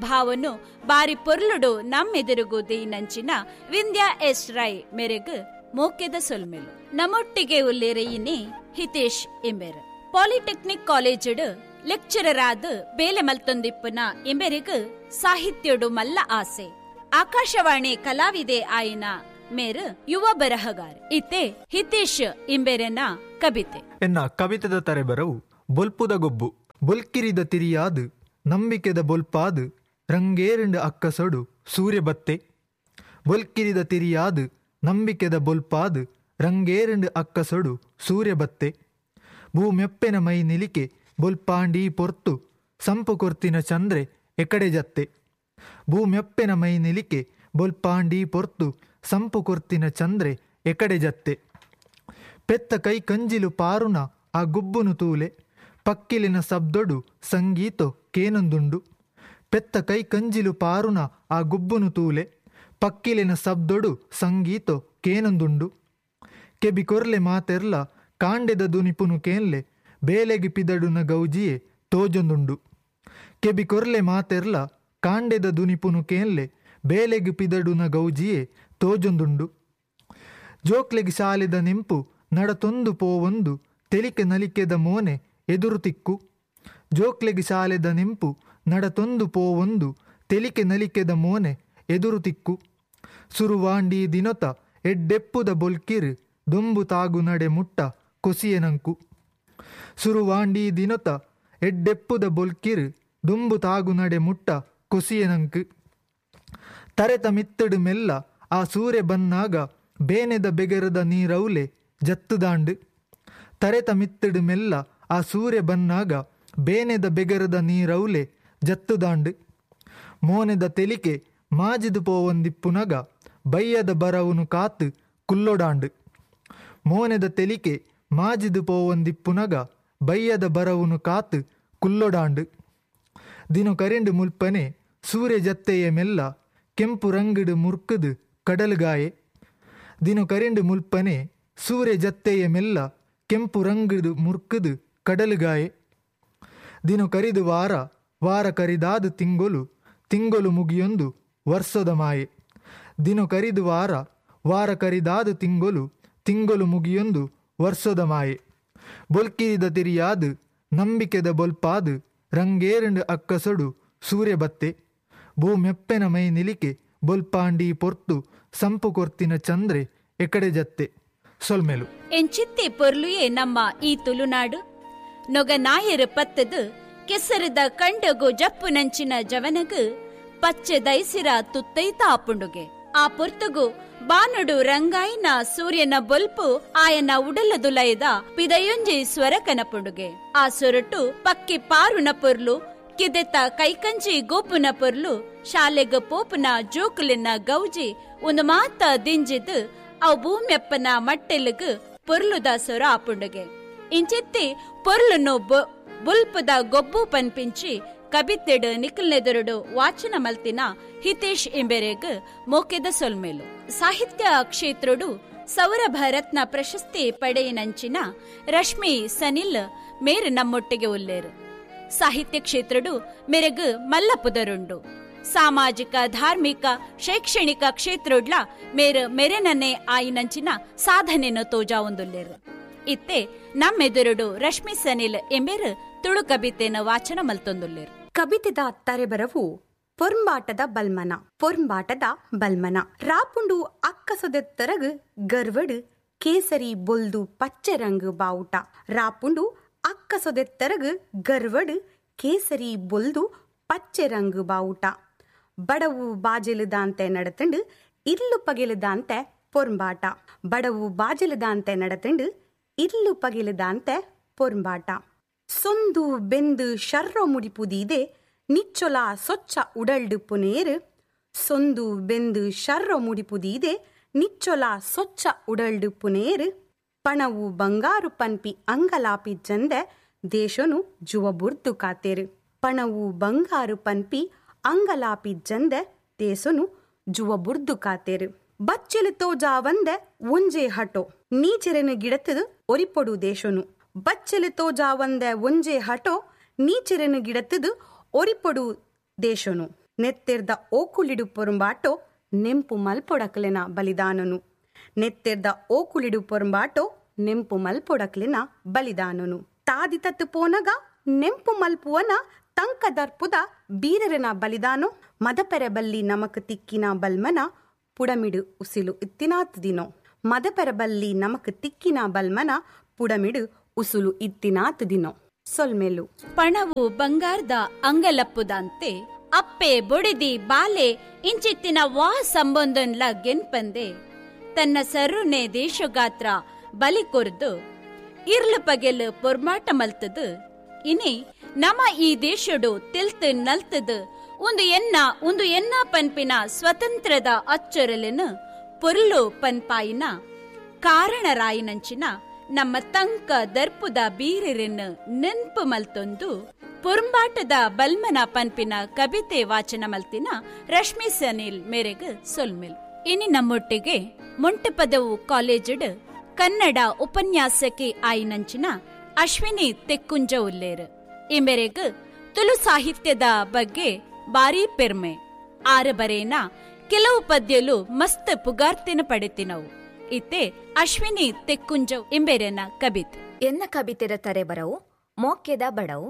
ಭಾವನು ಬಾರಿ ಪೊರ್ಲುಡು ನಮ್ಮೆದುರುಗು ದೇನಂಚಿನ ವಿಂಧ್ಯಾ ಎಸ್ ರೈ ಮೆರೆಗ್ ಮೋಕೆದ ಸೊಲ್ಮೆಲು. ನಮ್ಮೊಟ್ಟಿಗೆ ಉಲ್ಲೇರೆಯಿನಿ ಹಿತೇಶ್ ಎಂಬೆರ್. ಪಾಲಿಟೆಕ್ನಿಕ್ ಕಾಲೇಜುಡು ಲೆಕ್ಚರರ್ ಆದ್ ಬೇಲೆ ಮಲ್ತೊಂದಿಪ್ಪುನ ಎಂಬೆರಿಗ್ ಸಾಹಿತ್ಯಡು ಮಲ್ಲ ಆಸೆ. ಆಕಾಶವಾಣಿ ಕಲಾವಿದೆ ಆಯಿನ ಮೇರು ಯುವ ಬರಹಗಾರ. ಇತ್ತೆ ಹಿತೇಶ್ ಇಂಬೆರೆನ ಕವಿತೆ. ಎನ್ನ ಕವಿತೆದ ತರೆಬರವು ಬೊಲ್ಪುದ ಗೊಬ್ಬು. ಬೊಲ್ಕಿರಿದ ತಿರಿಯಾದು ನಂಬಿಕೆದ ಬೊಲ್ಪಾದು ರಂಗೇರಂಡು ಅಕ್ಕಸೊಡು ಸೂರ್ಯ ಬತ್ತೆ. ಬೊಲ್ಕಿರಿದ ತಿರಿಯಾದು ನಂಬಿಕೆದ ಬೊಲ್ಪಾದು ರಂಗೇರಂಡು ಅಕ್ಕಸೊಡು ಸೂರ್ಯ ಬತ್ತೆ. ಭೂಮೆಪ್ಪೆನ ಮೈ ನಿಲಿಕೆ ಬೊಲ್ಪಾಂಡಿ ಪೊರ್ತು ಸಂಪು ಕೊರ್ತಿನ ಚಂದ್ರೆ ಎಕಡೆ ಜತ್ತೆ. ಭೂಮೆಪ್ಪೆನ ಮೈ ನಿಲಿಕೆ ಬೊಲ್ಪಾಂಡಿ ಪೊರ್ತು ಸಂಪು ಕೊರ್ತಿನ ಚಂದ್ರೆ ಎಕಡೆ ಜತ್ತೆ. ಪೆತ್ತ ಕೈ ಕಂಜಿಲು ಪಾರುನ ಆ ಗುಬ್ಬುನು ತೂಲೆ ಪಕ್ಕಿಲಿನ ಸಬ್ದೊಡು ಸಂಗೀತೊ ಕೇನೊಂದುಂಡು. ಪೆತ್ತ ಕೈ ಕಂಜಿಲು ಪಾರುನ ಆ ಗುಬ್ಬುನು ತೂಲೆ, ಪಕ್ಕಿಲಿನ ಸಬ್ದೊಡು ಸಂಗೀತೊ ಕೇನೊಂದುಂಡು. ಕೆಬಿ ಕೊರ್ಲೆ ಮಾತೆರ್ಲ ಕಾಂಡೆದ ದುನಿಪುನು ಕೇನ್ಲೆ, ಬೇಲೆಗೆ ಪಿದಡುನ ಗೌಜಿಯೇ ತೋಜೊಂದುಂಡು. ಕೆಬಿ ಕೊರ್ಲೆ ಮಾತೆರ್ಲ ಕಾಂಡೆದ ದುನಿಪುನು ಕೇನ್ಲೆ, ಬೇಲೆಗೆ ಪಿದಡುನ ಗೌಜಿಯೇ ತೋಜೊಂದುಂಡು. ಜೋಕ್ಲೆಗ್ ಶಾಲೆದ ನೆಂಪು ನಡತೊಂದು ಪೋವೊಂದು ತೆಲಿಕೆ ನಲಿಕೆದ ಮೋನೆ ಎದುರು ತಿಕ್ಕು. ಜೋಕ್ಲೆಗ್ ಶಾಲೆದ ನೆಂಪು ನಡತೊಂದು ಪೋವೊಂದು ತೆಲಿಕೆ ನಲಿಕೆದ ಮೋನೆ ಎದುರು ತಿಕ್ಕು. ಸುರುವಾಂಡಿ ದಿನೊತ ಎಡ್ಡೆಪ್ಪುದ ಬೊಲ್ಕಿರು ದೊಂಬು ತಾಗು ನಡೆ ಮುಟ್ಟ ಕೊಸಿಯೆನಂಕು. ಸುರುವಾಂಡಿ ದಿನೊತ ಎಡ್ಡೆಪ್ಪುದ ಬೊಲ್ಕಿರು ದುಂಬು ತಾಗು ನಡೆ ಮುಟ್ಟ ಕೊಸಿಯೆನಂಕು. ತರೆತ ಮಿತ್ತಡು ಮೆಲ್ಲ ಆ ಸೂರ್ಯ ಬನ್ನಾಗ ಬೇನೆದ ಬೆಗರದ ನೀರೌಲೆ ಜತ್ತುದಾಂಡು. ತರೆತ ಮಿತ್ತಡು ಮೆಲ್ಲ ಆ ಸೂರ್ಯ ಬನ್ನಾಗ ಬೇನೆದ ಬೆಗರದ ನೀರೌಲೆ ಜತ್ತುದಾಂಡು. ಮೋನೆದ ತೆಲಿಕೆ ಮಾಜಿದು ಪೋವೊಂದಿಪ್ಪುನಗ ಬಯ್ಯದ ಬರವುನು ಕಾತು ಕುಲ್ಲೊಡಾಂಡು. ಮೋನೆದ ತೆಲಿಕೆ ಮಾಜಿದು ಪೋವೊಂದಿಪ್ಪುನಗ ಬಯ್ಯದ ಬರವುನು ಕಾತು ಕುಲ್ಲೊಡಾಂಡು. ದಿನ ಕರಿಂಡು ಮುಲ್ಪನೆ ಸೂರ್ಯ ಜತ್ತೆಯ ಮೆಲ್ಲ ಕೆಂಪು ರಂಗಿಡು ಮುರ್ಕುದು ಕಡಲುಗಾಯೆ. ದಿನ ಕರಿಂಡು ಮುಲ್ಪನೆ ಸೂರ್ಯ ಜತ್ತೆಯ ಮೆಲ್ಲ ಕೆಂಪು ರಂಗಿಡು ಮುರ್ಕುದು ಕಡಲುಗಾಯೆ. ದಿನ ಕರಿದು ವಾರ ವಾರ ಕರಿದಾದು ತಿಂಗೊಲು ತಿಂಗೊಲು ಮುಗಿಯೊಂದು ವರ್ಷದ ಮಾಯೆ. ದಿನ ಕರಿದು ವಾರ ವಾರ ಕರಿದಾದು ತಿಂಗೊಲು ತಿಂಗೊಲು ಮುಗಿಯೊಂದು ವರ್ಷದ ಮಾಯೆ. ಬೊಲ್ಕಿರಿದ ತಿರಿಯಾದು ನಂಬಿಕೆದ ಬೊಲ್ಪಾದು ರಂಗೇರಂಡು ಅಕ್ಕಸೊಡು ಸೂರ್ಯ ಬತ್ತೆ. ಭೂಮೆಪ್ಪೆನ ಮೈ ನಿಲಿಕೆ ಬೊಲ್ಪಾಂಡಿ ಪೊರ್ತು ಸಂಪು ಕೊರ್ತಿನ ಚಂದ್ರೆ ಎಕಡೆ ಜತ್ತೆ. ಸೊಲ್ಮೆಲು ಎಂಚಿತ್ತಿ ಪೊರ್ಲುಯೇ ನಮ್ಮ ಈ ತುಳುನಾಡು. ನೊಗ ನಾಯರು ಪತ್ತದು ಕೆಸರದ ಕಂಡಗು ಜಪ್ಪು ನಂಚಿನ ಜವನಗು ಪಚ್ಚೆ ದೈಸಿರ ತುತ್ತೈತ ಆಪುಂಡುಗೆ. ಆ ಪೊರ್ತುಗು ಬಾನುಡು ರಂಗಾಯಿನ ಸೂರ್ಯನ ಬೊಲ್ಪು ಆಯನ ಉಡಲದುಲೈದ ಪಿದಯೊಂಜಿ ಸ್ವರ ಕನಪುಂಡುಗೆ. ಆ ಸೊರಟು ಪಕ್ಕಿ ಪಾರುನ ಪೊರ್ಲು, ಕಿದೆತ ಕೈಕಂಜಿ ಗೋಪುನ ಪೊರ್ಲು, ಶಾಲೆಗ ಪೋಪುನ ಜೋಕುಲಿನ ಗೌಜಿ ಒಂದು ಮಾತ ದಿಂಜಿದು ಅವು ಭೂಮ್ಯಪ್ಪನ ಮಟ್ಟೆಲುಗು ಪೊರ್ಲುದ ಸೊರ ಆಪುಂಡುಗೆ. ಇಂಚಿತ್ತಿ ಪೊರ್ಲುನು ಬೊಲ್ಪುದ ಗೊಬ್ಬು ಪನ್ಪಿಂಚಿ ಕಬಿತೆಡು ನಿಖಲ್ನೆದುರುಡು ವಾಚನ ಮಲ್ತಿನ ಹಿತೇಶ್ ಇಂಬೆರೆಗ್ ಮೋಕೆದ ಸೊಲ್ಮೇಲು. ಸಾಹಿತ್ಯ ಕ್ಷೇತ್ರಡು ಸೌರಭ ರತ್ನ ಪ್ರಶಸ್ತಿ ಪಡೆಯಿನಂಚಿನ ರಶ್ಮಿ ಸನಿಲ್ ಮೇರು ನಮ್ಮೊಟ್ಟಿಗೆ ಉಲ್ಲೇರು. ಸಾಹಿತ್ಯ ಕ್ಷೇತ್ರಡು ಮೆರೆಗ್ ಮಲ್ಲ ಪುದರುಂಡು. ಸಾಮಾಜಿಕ ಧಾರ್ಮಿಕ ಶೈಕ್ಷಣಿಕ ಕ್ಷೇತ್ರಡ್ಲ ಮೇರು ಮೆರೆನನ್ನೇ ಆಯಿನಂಚಿನ ಸಾಧನೆಯನ್ನು ತೋಜಾ ಒಂದುಲ್ಲೇರು. ಇತ್ತೆ ನಮ್ಮೆದುರುಡು ರಶ್ಮಿ ಸನಿಲ್ ಎಂಬೇರು ತುಳು ಕಬಿತೆನ ವಾಚನ ಮಲ್ತೊಂದುಲ್ಲೇರು. ಕಬಿತೆದ ತರೆಬರವು ಪೊರ್ಂಬಾಟದ ಬಲ್ಮನ. ಪೊರ್ಂಬಾಟದ ಬಲ್ಮನ ರಾಪುಂಡು ಅಕ್ಕಸೊದೆತ್ತರಗು ಗರ್ವಡು ಕೇಸರಿ ಬೊಲ್ದು ಪಚ್ಚೆ ರಂಗು ಬಾವುಟ. ರಾಪುಂಡು ಅಕ್ಕಸೊದೆತ್ತರಗು ಗರ್ವಡು ಕೇಸರಿ ಬೊಲ್ದು ಪಚ್ಚೆ ರಂಗು ಬಾವುಟ. ಬಡವು ಬಾಜೆಲುದಾಂತೆ ನಡತಂಡು ಇರ್ಲು ಪಗೆಲುದಾಂತೆ ಪೊರ್ಂಬಾಟ. ಬಡವು ಬಾಜೆಲುದಾಂತೆ ನಡತಂಡು ಇರ್ಲು ಪಗೆಲುದಾಂತೆ ಪೊರ್ಂಬಾಟ. ಸೊಂದು ಬೆಂದು ಶರ್ರೋ ಮುಡಿಪುದೀದೆ ನಿಚ್ಚೊಲ ಸೊಚ್ಚ ಉಡಲ್ಡು ಪುನೇರು. ಸೊಂದು ಬೆಂದು ಶರ್ರೋ ಮುಡಿಪುದೀದೆ ನಿಚ್ಚೊಲ ಸೊಚ್ಚ ಉಡಲ್ಡು ಪುನೇರು. ಪಣವು ಬಂಗಾರು ಪನ್ಪಿ ಅಂಗಲಾಪಿ ಜಂದೆ ದೇಶನು ಜುವ ಬುರ್ದು ಕಾತೇರು. ಪಣವು ಬಂಗಾರು ಪನ್ಪಿ ಅಂಗಲಾಪಿ ಜಂದೆ ದೇಶನು ಜುವ ಬುರ್ದು ಕಾತೇರು. ಬಚ್ಚೆಲು ತೋಜಾವಂದೆ ಒಂಜೆ ಹಟೋ ನೀಚೆರೆನು ಗಿಡತದು ಒರಿಪೊಡು ದೇಶನು. ಬಚ್ಚೆಲು ತೋಜಾವಂದೆ ಒಂಜೆ ಹಟೋ ನೀಚೆರೆನು ಗಿಡತದು ಒರಿಪೊಡು ದೇಶನು. ನೆತ್ತೆರ್ದ ಓಕುಳಿಡು ಪೊರುಂಬಾಟೋ ನೆಂಪು ಮಲ್ಪೊಡಕ್ಲೆನ ಬಲಿದಾನನು. ನೆತ್ತೆರ್ದ ಓಕುಳಿಡು ಪೊರುಂಬಾಟೋ ನೆಂಪು ಮಲ್ಪೊಡಕ್ಲೆನ ಬಲಿದಾನನು. ತಾದಿ ತತ್ತು ಪೋನಗ ನೆಂಪು ಮಲ್ಪುವನ ತಂಕದರ್ಪುದ ಬೀರರನ ಬಲಿದಾನೋ. ಮದಪೆರಬಲ್ಲಿ ನಮಕ್ ತಿಕ್ಕಿನ ಬಲ್ಮನ ಪುಡಮಿಡು ಉಸಿಲು ಇತ್ತಿನಾತ್ ದಿನೋ. ಮದಪೆರಬಲ್ಲಿ ನಮಕ್ ತಿಕ್ಕಿನ ಬಲ್ಮನ ಪುಡಮಿಡು ಉಸುಲು ಇತ್ತಿನಾತ್ ದಿನೋ. ಸೊಲ್ಮೆಲು ಪಣವು ಬಂಗಾರದ ಅಂಗಲಪ್ಪುದಂತೆ ಅಪ್ಪೆ ಬೊಡೆದಿ ಬಾಲೆ ಇಂಚಿತ್ತಿನ ವಾ ಸಂಬಂಧನ್ಲ ಗೆನ್ಪಂದೆ ತನ್ನ ಸರುನೆ ದೇಶಗಾತ್ರ ಬಲಿ ಕೊರ್ದು ಇರ್ಲು ಪಗೆಲು ಪೊರ್ಮಾಟ ಮಲ್ತದು. ಇನಿ ನಮ ಈ ದೇಶಡು ತೆಲ್ತು ನಲ್ತದು ಒಂದು ಎನ್ನ ಒಂದು ಎನ್ನ ಪನ್ಪಿನ ಸ್ವತಂತ್ರದ ಅಚ್ಚೊರಲೆನು ಪೊರ್ಲು ಪನ್ಪಾಯಿನ ಕಾರಣರಾಯಿನಂಚಿನ ನಮ್ಮ ತಂಕ ದರ್ಪುದ ಬೀರರನ್ನು ನೆನ್ಪು ಮಲ್ತೊಂದು ಪೊರ್ಂಬಾಟದ ಬಲ್ಮನ ಪನ್ಪಿನ ಕವಿತೆ ವಾಚನ ಮಲ್ತಿನ ರಶ್ಮಿ ಸನಿಲ್ ಮೇರೆಗ್ ಸೊಲ್ಮೆಲ್. ಇನಿ ನಮ್ಮೊಟ್ಟಿಗೆ ಮೊಂಟೆಪದವು ಕಾಲೇಜಿಡ್ ಕನ್ನಡ ಉಪನ್ಯಾಸಕಿ ಆಯಿನಂಚಿನ ಅಶ್ವಿನಿ ತೆಕ್ಕುಂಜ ಉಲ್ಲೇರು. ಈ ಮೇರೆಗ್ ತುಳು ಸಾಹಿತ್ಯದ ಬಗ್ಗೆ ಬಾರೀ ಪೆರ್ಮೆ. ಆರ ಬರೇನ ಕೆಲವು ಪದ್ಯಲು ಮಸ್ತ್ ಪುಗಾರ್ತಿನ ಪಡೆತಿನವು. ಇತ್ತೆ ಅಶ್ವಿನಿ ತೆಕ್ಕುಂಜ ಇಂಬೆರೆನ ಕವಿತೆ. ಎನ್ನ ಕವಿತೆರ ತರೆ ಬರವು ಮೋಕೆದ ಬಡವು.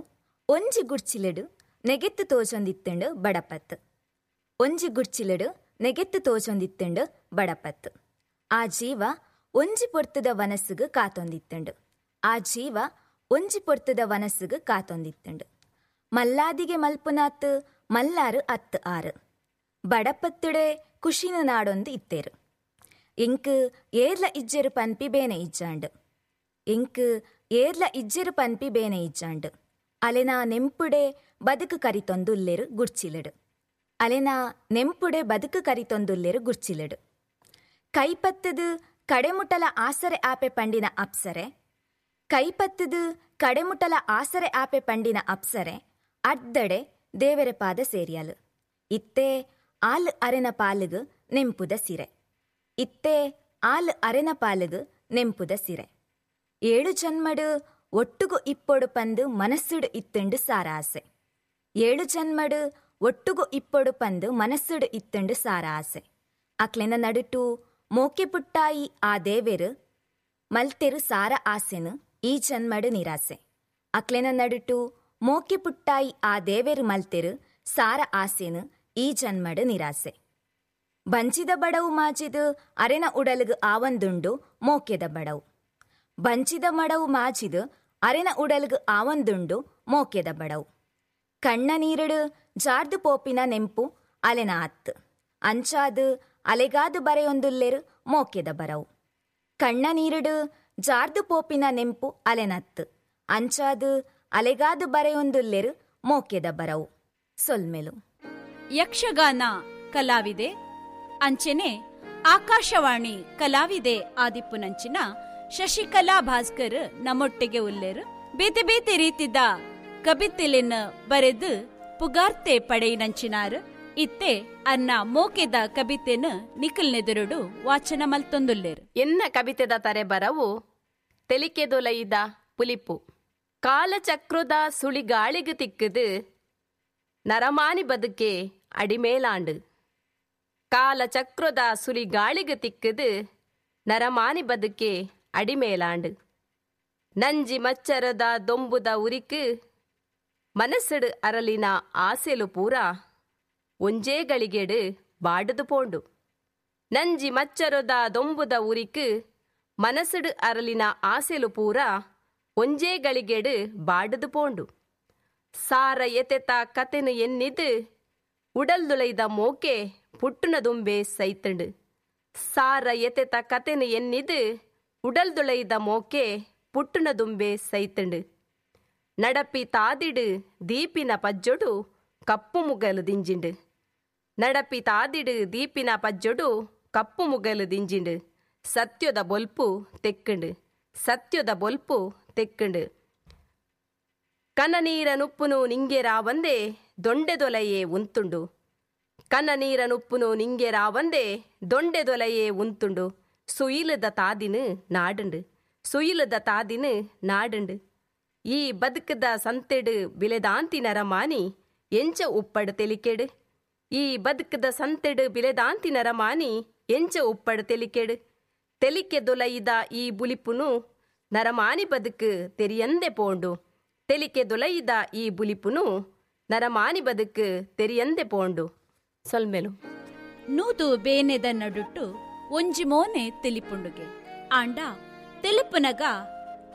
ಒಂಜಿ ಗುಡ್ಚಿಲೆಡು ನೆಗೆತ್ತು ತೋಜೊಂದಿತ್ತೆಂಡು ಬಡಪತ್ತು. ಒಂಜಿ ಗುಡ್ಚಿಲೆಡು ನೆಗೆತ್ತು ತೋಜೊಂದಿತ್ತೆಂಡು ಬಡಪತ್ತು. ಆ ಜೀವ ಒಂಜಿ ಪೊರ್ತುದ ವನಸ್ಸುಗು ಕಾತೊಂದಿತ್ತೆಂಡು. ಆ ಜೀವ ಒಂಜಿ ಪೊರ್ತುದ ವನಸ್ಸುಗು ಕಾತೊಂದಿತ್ತೆಂಡು. ಮಲ್ಲಾದಿಗೆ ಮಲ್ಪುನಾತ್ ಮಲ್ಲಾರು ಅತ್ತು ಆರು. ಬಡಪತ್ತುಡೆ ಖುಷಿನ ನಾಡೊಂದು ಇತ್ತೇರು. ಎಂಕ್ ಏರ್ಲ ಇಜ್ಜೆರು ಪನ್ಪಿ ಬೇನೆ ಇಜ್ಜಾಂಡು. ಎಂಕ್ ಏರ್ಲ ಇಜ್ಜೆರು ಪನ್ಪಿ ಬೇನೆ ಇಜ್ಜಾಂಡು. ಅಲೆನ ನೆಂಪುಡೆ ಬದುಕು ಕರಿತೊಂದುಲ್ಲೇರು ಗುಡ್ಚಿಲೆಡು. ಅಲೆನ ನೆಂಪುಡೆ ಬದುಕು ಕರಿತೊಂದುಲ್ಲೇರು ಗುಡ್ಚಿಲೆಡು. ಕೈಪತ್ತದು ಕಡೆಮುಟಲ ಆಸರೆ ಆಪೆ ಪಂಡಿನ ಅಪ್ಸರೆ. ಕೈಪತ್ತದು ಕಡೆಮುಟಲ ಆಸರೆ ಆಪೆ ಪಂಡಿನ ಅಪ್ಸರೆ ಅಡ್ದಡೆ ದೇವರ ಪಾದ ಸೇರಿಯಲು. ಇತ್ತೆ ಆಲ್ ಅರೆನ ಪಾಲುಗು ನೆಂಪುದ ಸಿರೆ. ಇತ್ತೆ ಆಲ್ ಅರೆನ ಪಾಲುಗು ನೆಂಪುದ ಸಿರೆ. ಏಳು ಜನ್ಮಡು ಒಟ್ಟುಗು ಇಪ್ಪೊಡು ಪಂದು ಮನಸ್ಸುಡು ಇತ್ತುಂಡು ಸಾರ ಆಸೆ. ಏಳು ಜನ್ಮಡು ಒಟ್ಟುಗು ಇಪ್ಪೊಡು ಪಂದು ಮನಸ್ಸುಡು ಇತ್ತುಂಡು ಸಾರ ಆಸೆ. ಅಕ್ಲೆನ ನಡುಟು ಮೋಕೆ ಪುಟ್ಟಾಯಿ ಆ ದೇವೆರು ಮಲ್ತೆರು ಸಾರ ಆಸೆನು ಈ ಜನ್ಮಡು ನಿರಾಸೆ. ಅಕ್ಲೆನ ನಡುಟು ಮೋಕೆ ಪುಟ್ಟಾಯಿ ಆ ದೇವೆರು ಮಲ್ತೆರು ಸಾರ ಆಸೆನು ಈ ಜನ್ಮಡು ನಿರಾಸೆ. ಬಂಚಿದ ಬಡವು ಮಾಜಿದು ಅರೆನ ಉಡಲುಗು ಆವಂದುಂಡು ಮೋಕೆದ ಬಡವು. ಬಂಚಿದ ಮಡವು ಮಾಜಿದು ಅರೆನ ಉಡಲ್ಗು ಆವಂದುಂಡು ಮೋಕೆದ ಬಡವು. ಕಣ್ಣ ನೀರಡು ಜಾರ್ದು ಪೋಪಿನ ನೆಂಪು ಅಲೆನ ಅತ್ತು. ಅಂಚಾದು ಅಲೆಗಾದು ಬರೆಯೊಂದುಲ್ಲೇರು ಮೋಕೆದ ಬರವು. ಕಣ್ಣ ನೀರಡು ಜಾರ್ದು ಪೋಪಿನ ನೆಂಪು ಅಲೆನತ್ತು. ಅಂಚಾದು ಅಲೆಗಾದು ಬರೆಯೊಂದುಲ್ಲೇರು ಮೋಕೆದ ಬರವು. ಸೊಲ್ಮೆಲು. ಯಕ್ಷಗಾನ ಕಲಾವಿದೆ ಅಂಚೆನೆ ಆಕಾಶವಾಣಿ ಕಲಾವಿದೆ ಆದಿಪ್ಪುನಂಚಿನ ಶಶಿಕಲಾ ಭಾಸ್ಕರ್ ನಮ್ಮೊಟ್ಟಿಗೆ ಉಲ್ಲೇರು. ಬೇತೆ ಬೇತೆ ರೀತಿದ ಕಬಿತೆಲೆನ್ ಬರೆದು ಪುಗಾರ್ತೆ ಪಡೆಯಿನಂಚಿನಾರು. ಇತ್ತೆ ಅನ್ನ ಮೋಕೆದ ಕಬಿತೆನು ನಿಖಲ್ನೆದುರುಡು ವಾಚನ ಮಲ್ತೊಂದುಲ್ಲೇರು. ಎನ್ನ ಕವಿತೆದ ತರೆ ಬರವು ತೆಲಿಕೆದೊಲೈದ ಪುಲಿಪು. ಕಾಲಚಕ್ರದ ಸುಳಿಗಾಳಿಗೆ ತಿಕ್ಕದು ನರಮಾನಿ ಬದುಕೆ ಅಡಿಮೇಲಾಂಡು. ಕಾಲಚಕ್ರದ ಸುಳಿಗಾಳಿಗೆ ತಿಕ್ಕದು ನರಮಾನಿ ಬದುಕೆ ಅಡಿಮೇಲಾಂಡು. ನಂಜಿ ಮಚ್ಚರದ ದೊಂಬುದ ಉರಿಕು ಮನಸ್ಸುಡು ಅರಲಿನ ಆಸೆಲು ಪೂರ ಒಂಜೇ ಗಳಿಗೆಡು ಬಾಡುದು ಪೋಂಡು. ನಂಜಿ ಮಚ್ಚರದ ದೊಂಬುದ ಉರಿಕು ಮನಸ್ಸುಡು ಅರಲಿನ ಆಸೆಲು ಪೂರ ಒಂಜೇ ಗಳಿಗೆಡು ಬಾಡುದು ಪೋಂಡು. ಸಾರ ಎತೆತ ಕತೆನು ಎನ್ನಿದು ಉಡಲ್ದುಲೈದ ಮೋಕೆ ಪುಟ್ಟುನ ದುಂಬೆ ಸೈತಂಡು. ಸಾರ ಎತೆತ ಕತೆನು ಎನ್ನಿದು ಉಡಲ್ದುಲೈದ ಮೋಕೆ ಪುಟ್ಟುನ ದುಂಬೆ ಸೈತಂಡು. ನಡಪಿ ತಾದಿಡು ದೀಪಿನ ಪಜ್ಜೊಡು ಕಪ್ಪು ಮುಗಲು ದಿಂಜಿಂಡು. ನಡಪಿ ತಾದಿಡು ದೀಪಿನ ಪಜ್ಜೊಡು ಕಪ್ಪು ಮುಗಲು ದಿಂಜಿಂಡು. ಸತ್ಯದ ಬೊಲ್ಪು ತೆಕ್ಕಂಡು. ಸತ್ಯದ ಬೊಲ್ಪು ತೆಕ್ಕಂಡು. ಕನನೀರನುಪ್ಪುನು ನಿಂಗೆ ರಾವಂದೆ ದೊಂಡೆದೊಲೆಯೇ ಉಂತುಂಡು. ಕನನೀರನುಪ್ಪುನು ನಿಂಗೆ ರಾವಂದೆ ದೊಂಡೆದೊಲೆಯೇ ಉಂತುಂಡು. ಸುಯಿಲದ ತಾದಿನು ನಾಡುಂಡು. ಸುಯಿಲದ ತಾದಿನು ನಾಡುಂಡು. ಈ ಬದುಕದ ಸಂತೆಡು ಬಿಲೆದಾಂತಿ ನರಮಾನಿ ಎಂಚ ಉಪ್ಪಡು ತೆಲಿಕೆಡು. ಈ ಬದುಕದ ಸಂತೆಡು ಬಿಲೆದಾಂತಿ ನರಮಾನಿ ಎಂಚ ಉಪ್ಪಡು ತೆಲಿಕೆಡು. ತೆಲಿಕೆ ದೊಲೈದ ಈ ಬುಲಿಪುನು ನರಮಾನಿ ಬದುಕು ತೆರಿಯಂದೆ ಪೋಂಡು. ತೆಲಿಕೆ ದೊಲೈದ ಈ ಬುಲಿಪುನು ನರಮಾನಿ ಬದುಕು ತೆರಿಯಂದೆ ಪೋಂಡು. ಸೊಲ್ಮೆಲು. ನೂದು ಬೇನೆದ ನಡುಟ್ಟು ಒಂಜಿ ಮೋನೆ ತೆಲಿಪುಂಡುಗೆ. ಆಂಡ ತೆಲುಪುನಗ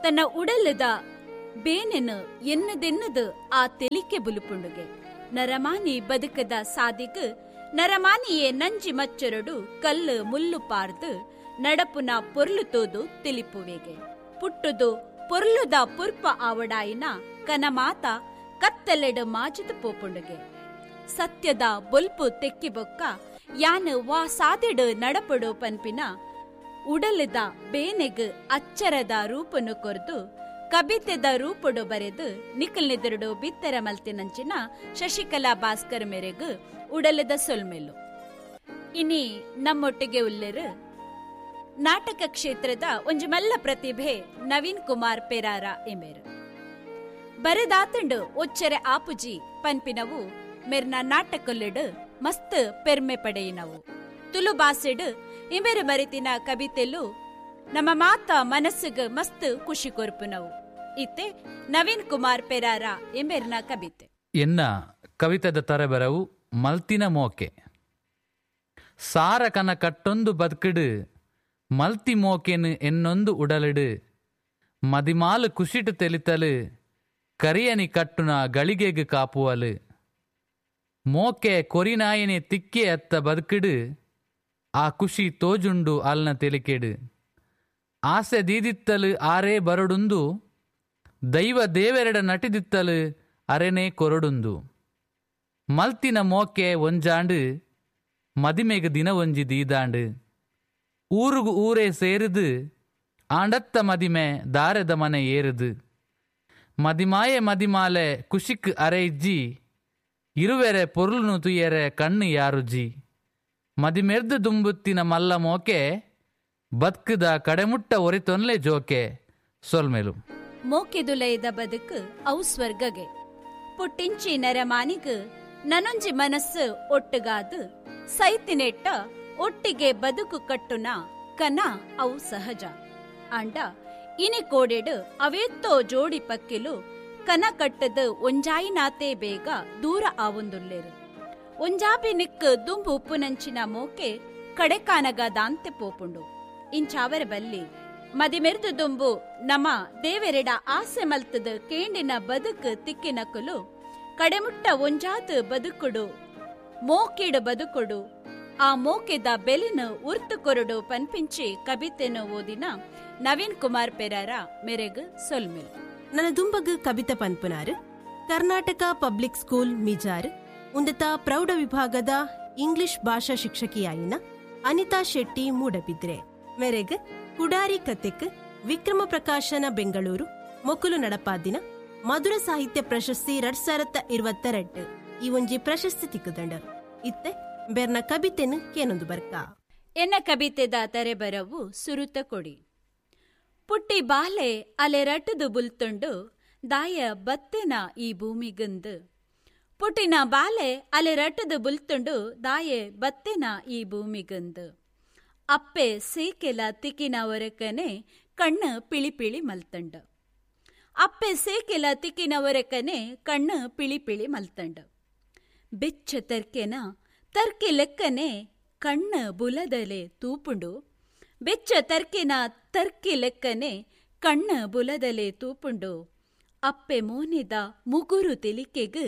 ತನ್ನ ಉಡಲದ ಬೇನೆನು ಎನ್ನದೆನ್ನದು ಆ ತೆಲಿಕೆ ಬುಲುಪುಂಡುಗೆ. ನರಮಾನಿ ಬದುಕದ ಸಾದಿಗು ನರಮಾನಿಯೇ ನಂಜಿ ಮಚ್ಚರಡು ಕಲ್ಲು ಮುಲ್ಲು ಪಾರ್ದು ನಡಪುನ ಪೊರ್ಲು ತೋದು ತಿಳಿಪುವೆಗೆ. ಪುಟ್ಟುದು ಪೊರ್ಲುದ ಪುರ್ಪ ಆವಡಾಯಿನ ಕನಮಾತ ಕತ್ತಲೆಡು ಮಾಜಿದು ಪೋಪುಂಡುಗೆ. ಸತ್ಯದ ಬೊಲ್ಪು ತೆಕ್ಕಿಬೊಕ್ಕ ಯಾನು ವಾ ಸಾದೆಡು ನಡಪಡು ಪನ್ಪಿನ ಉಡಲದ ಬೇನೆಗ್ ಅಚ್ಚರದ ರೂಪನು ಕೊರ್ದು ಕಬಿತೆದ ರೂಪಡು ಬರೆದು ನಿಖಲ್ನೆದುರುಡು ಬಿತ್ತರ ಮಲ್ತಿನಂಚಿನ ಶಶಿಕಲಾ ಭಾಸ್ಕರ್ ಮೇರೆಗ್ ಉಡಲದ ಸೊಲ್ಮೆಲು. ಇನಿ ನಮ್ಮೊಟ್ಟಿಗೆ ಉಲ್ಲೆರು ನಾಟಕ ಕ್ಷೇತ್ರದ ಒಂಜಿ ಮಲ್ಲ ಪ್ರತಿಭೆ ನವೀನ್ ಕುಮಾರ್ ಪೆರಾರ ಎಮೇರು. ಬರೆದಾತಂಡು ಒಚ್ಚರೆ ಆಪುಜಿ ಪನ್ಪಿನವು ಮೆರ್ನ ನಾಟಕೊಲ್ಲೆಡು ಮಸ್ತ್ ಪೆರ್ಮೆ ಪಡೆಯಿನವು. ತುಲು ಬಾಸೆಡು ಇಮೆರು ಮರಿತಿನ ಕವಿತೆಲು ನಮ್ಮ ಮಾತ ಮನಸ್ಸಿಗೆ ಮಸ್ತ್ ಖುಷಿ ಕೊರ್ಪುನವು. ಇತ್ತೆ ನವೀನ್ ಕುಮಾರ್ ಪೆರಾರ ಎಮೆರ್ನ ಕವಿತೆ. ಎನ್ನ ಕವಿತದ ತರಬರವು ಮಲ್ತಿನ ಮೋಕೆ. ಸಾರ ಕನ ಕಟ್ಟೊಂದು ಬದುಕಿಡು ಮಲ್ತಿ ಮೋಕೆನು ಎನ್ನೊಂದು ಉಡಲಿಡು ಮದಿಮಾಲು ಕುಶಿಟು ತೆಲಿತಲು ಕರಿಯನಿ ಕಟ್ಟುನ ಗಳಿಗೆಗು ಕಾಪುವಲು ಮೋಕೆ ಕೊರಿನಾಯನೆ ತಿಕ್ಕೆ ಅತ್ತ ಬದುಕಿಡು ಆ ಖುಷಿ ತೋಜುಂಡು ಅಲ್ನ ತೆಲಿಕೆಡು ಆಸೆ ದೀದಿತ್ತಲು ಆರೇ ಬರಡುಂದು ದೈವ ದೇವೆರಡ ನಟಿದಿತ್ತಲು ಅರೆನೇ ಕೊರಡುಂದು ಮಲ್ತಿನ ಮೋಕೆ ಒಂಜಾಂಡು ಮದಿಮೆಗೆ ದಿನ ಒಂಜಿ ದೀದಾಂಡು ಊರುಗು ಊರೇ ಸೇರಿದು ಆಂಡತ್ತ ಮದಿಮೆ ದಾರೆದ ಮನೆ ಏರಿದು ಮದಿಮಾಯೆ ಮದಿಮಾಲೆ ಕುಶಿಕ್ ಅರೆಜ್ಜಿ ಇರುವೆರೆ ಪೊರುಳುನು ತುಯ್ಯರೆ ಕಣ್ಣು ಯಾರುಜಿ ಮದಿಮೆರ್ದು ದುಂಬುತ್ತಿನ ಮಲ್ಲ ಮೋಕೆ ಬದುಕುದ ಕಡೆಮುಟ್ಟ ಒರಿತೊನ್ಲೆ ಜೋಕೆ ಸೊಲ್ಮೆಲು. ಮೋಕೆದುಲೈದ ಬದುಕು ಅವು ಸ್ವರ್ಗಗೆ ಪುಟ್ಟಿಂಚಿ ನರಮಾನಿಗ್ ನನೊಂಜಿ ಮನಸ್ಸು ಒಟ್ಟುಗಾದು ಸೈತಿನೆಟ್ಟ ಒಟ್ಟಿಗೆ ಬದುಕು ಕಟ್ಟುನ ಕನ ಅವು ಸಹಜ. ಅಂಡ ಇನಿ ಕೋಡೆಡು ಅವೇತ್ತೋ ಜೋಡಿ ಪಕ್ಕಿಲು ಕನ ಕಟ್ಟದು ಒಂಜಾಯಿನಾತೆ ಬೇಗ ದೂರ ಆವೊಂದುಲ್ಲೇರು. ಒಂಜಾಬಿ ನಿಕ್ ದುಂಬು ಉಪ್ಪುನಂಚಿನ ಮೋಕೆ ಕಡೆಕಾನಗ ದಾಂತೆ ಪೋಪುಂಡು. ಇಂಚಾವರ ಬಲ್ಲಿ ಮದಿಮೆರ್ದು ದುಂಬು ನಮ ದೇವೆರೆಡ ಆಸೆ ಮಲ್ತದ ಕೇಂಡಿನ ಬದುಕು ತಿಕ್ಕಿನಕುಲು ಕಡೆಮುಟ್ಟ ಒಂಜಾತು ಬದುಕುಡು ಮೋಕೆಡು ಬದುಕುಡು ಆ ಮೋಕೆದ ಬೆಲಿನ ಉರ್ತು ಕೊರಡು ಪನ್ಪಿಂಚಿ ಕವಿತೆನು ಓದಿನ ನವೀನ್ ಕುಮಾರ್ ಪೆರಾರ ಮೆರೆಗ್ ಸೊಲ್ಮೆಲ್. ನನ್ನ ದುಂಬಗ್ ಕವಿತೆ ಪನ್ಪುನಾರು ಕರ್ನಾಟಕ ಪಬ್ಲಿಕ್ ಸ್ಕೂಲ್ ಮಿಜಾರ್ ಉಂದತ ಪ್ರೌಢ ವಿಭಾಗದ ಇಂಗ್ಲಿಷ್ ಭಾಷಾ ಶಿಕ್ಷಕಿಯಾಯಿನ ಅನಿತಾ ಶೆಟ್ಟಿ ಮೂಡಬಿದ್ರೆ ಮೆರೆಗ್ ಕುಡಾರಿ ಕತೆಕ್ ವಿಕ್ರಮ ಪ್ರಕಾಶನ ಬೆಂಗಳೂರು ಮೊಕುಲು ನಡಪಾದಿನ ಮಧುರ ಸಾಹಿತ್ಯ ಪ್ರಶಸ್ತಿ 2022 ಈ ಒಂಜಿ ಪ್ರಶಸ್ತಿ ತಿಕ್ಕುದಂಡ. ಇತ್ತೆ ಬೆರ್ನ ಕವಿತೆನು ಕೇನೊಂದು ಬರ್ಕ. ಎನ್ನ ಕವಿತೆದ ತರೆಬರವು ಸುರುತ ಕೊಡಿ. ಪುಟ್ಟಿ ಬಾಲೆ ಅಲೆ ರಟದು ಬುಲ್ತುಂಡು ದಾಯ ಬತ್ತೆನ ಈ ಭೂಮಿಗಂದು. ಪುಟ್ಟಿನ ಬಾಲೆ ಅಲೆ ರಟದು ಬುಲ್ತುಂಡು ದಾಯೆ ಬತ್ತೆನ ಈ ಭೂಮಿಗಂದು. ಅಪ್ಪೆ ಸೇಕೆಲ ತಿಕ್ಕಿನ ಒರಕನೆ ಕಣ್ಣು ಪಿಳಿ ಪಿಳಿ ಮಲ್ತಂಡ. ಅಪ್ಪೆ ಸೇಕೆಲ ತಿಕ್ಕಿನ ಒರಕನೆ ಕಣ್ಣು ಪಿಳಿ ಪಿಳಿ ಮಲ್ತಂಡ. ಬೆಚ್ಚ ತರ್ಕೆನ ತರ್ಕೆ ಲೆಕ್ಕನೆ ಕಣ್ಣು ಬುಲದಲೆ ತೂಪುಂಡು. ಬೆಚ್ಚ ತರ್ಕೆನ ತರ್ಕೆ ಲೆಕ್ಕನೆ ಕಣ್ಣು ಬುಲದಲೆ ತೂಪುಂಡು. ಅಪ್ಪೆ ಮೋನೆದ ಮುಗುರು ತೆಲಿಕೆಗ್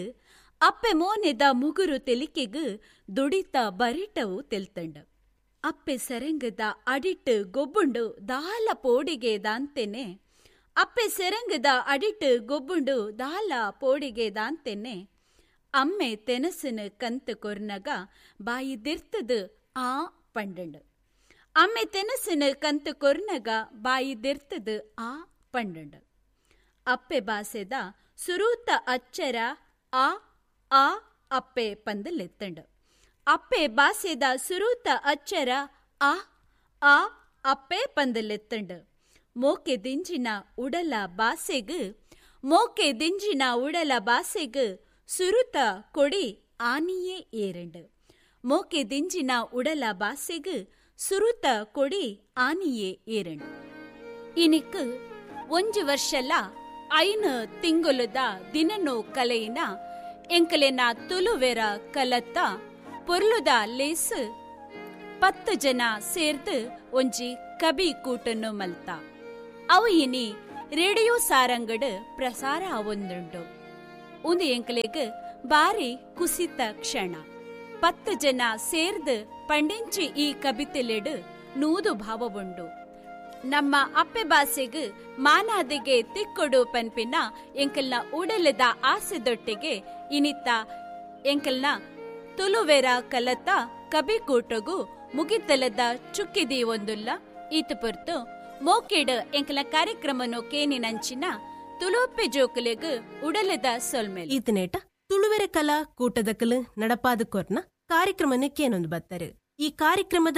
ಅಪ್ಪೆ ಮೋನೆದ ಮುಗುರು ತೆಲಿಕೆಗ್ ದುಡಿತ ಬರಿಟವು ತೆಲ್ತಂಡ. ಅಪ್ಪೆ ಸೆರಂಗದ ಅಡಿಟ್ಟು ಗೊಬ್ಬುಂಡು ದಾಲ ಪೋಡಿಗೆ ದಾಂತೆನೆ. ಅಪ್ಪೆ ಸೆರಂಗದ ಅಡಿಟ್ಟು ಗೊಬ್ಬುಂಡು ದಾಲ ಪೋಡಿಗೆ ದಾಂತೆನೆ. ಅಮ್ಮೆ ತೆನಸನು ಕಂತು ಕೊರ್ನಗ ಬಾಯಿ ದಿರ್ತದು ಆ ಪಂಡಂಡು. ಅಮ್ಮೆ ತೆನಸನು ಕಂತು ಕೊರ್ನಗ ಬಾಯಿ ದಿರ್ತದು ಆ ಪಂಡಂಡು. ಅಪ್ಪೆ ಬಾಸೆದ ಸುರೂತ ಅಚ್ಚರ ಆ ಆ ಅಪ್ಪೆ ಪಂದಲೆತ್ತಂಡು. ಅಪ್ಪೆ ಬಾಸೆದ ಸುರೂತ ಅಚ್ಚರ ಆ ಆ ಅಪ್ಪೆ ಪಂದಲೆತ್ತಂಡು. ಮೋಕೆ ದಿಂಜಿನ ಉಡಲ ಬಾಸೆಗ್ ಮೋಕೆ ದಿಂಜಿನ ಉಡಲ ಬಾಸೆಗ್ ಸುರುತ ಕೊಡಿ ಆನಿಯೇ ಏರಂಡು. ಮೋಕೆ ದಿಂಜಿನ ಉಡಲ ಬಾಸೆಗ್ ಸುರುತ ಕೊಡಿ ಆನಿಯೇ ಏರಂಡು. ಇನಿಕ್ ಒಂಜಿ ವರ್ಷಲ 5 ತಿಂಗೊಲುದ ದಿನನು ಕಲೆಯಿನ ಎಂಕಲೆನ ತುಲುವೆರ ಕಲತ್ತ ಪೊರ್ಲುದ ಲೇಸ್ 10 ಜನ ಸೇರ್ದು ಒಂಜಿ ಕಬಿ ಕೂಟನ್ನು ಮಲ್ತ. ಅವು ಇನಿ ರೇಡಿಯೋ ಸಾರಂಗಡು ಪ್ರಸಾರ ಆವೊಂದುಂಡು. ಒಂದು ಎಂಕಲೆಗ್ ಬಾರಿ ಕುಸಿತ ಕ್ಷಣ. 10 ಜನ ಸೇರ್ದು ಪಂಡಿಂಚಿ ಈ ಕಬಿತೆಲೆಡು 100 ಭಾವವುಂಡು. ನಮ್ಮ ಅಪ್ಪೆ ಬಾಸೆಗ್ ಮಾನಾದಿಗೆ ತಿಕ್ಕೊಡು ಪನ್ಪಿನ ಎಂಕಲ್ನ ಉಡಲದ ಆಸೆದೊಟ್ಟಿಗೆ ಇನಿತ ಎಂಕಲ್ನ ತುಲುವೆರ ಕಲತ ಕಬಿ ಕೂಟಗು ಮುಗಿತಲದ ಚುಕ್ಕಿದಿ ಒಂದುಲ್ಲ. ಈತ ಪೊರ್ತು ಮೋಕೆಡ್ ಎಂಕಲ ಕಾರ್ಯಕ್ರಮನು ಕೇನಿನಂಚಿನ ತುಳುವಪ್ಪೆ ಜೋಕುಲೆಗ್ ಉಡಲದ ಸೊಲ್ಮೆಲು. ಈತನೇಟ ತುಳುವೆರೆ ಕಲಾ ಕೂಟದಕಲು ನಡಪಾದ ಕೊರ್ನ ಕಾರ್ಯಕ್ರಮನ ಕೇನೊಂದು ಬತ್ತರು. ಈ ಕಾರ್ಯಕ್ರಮದ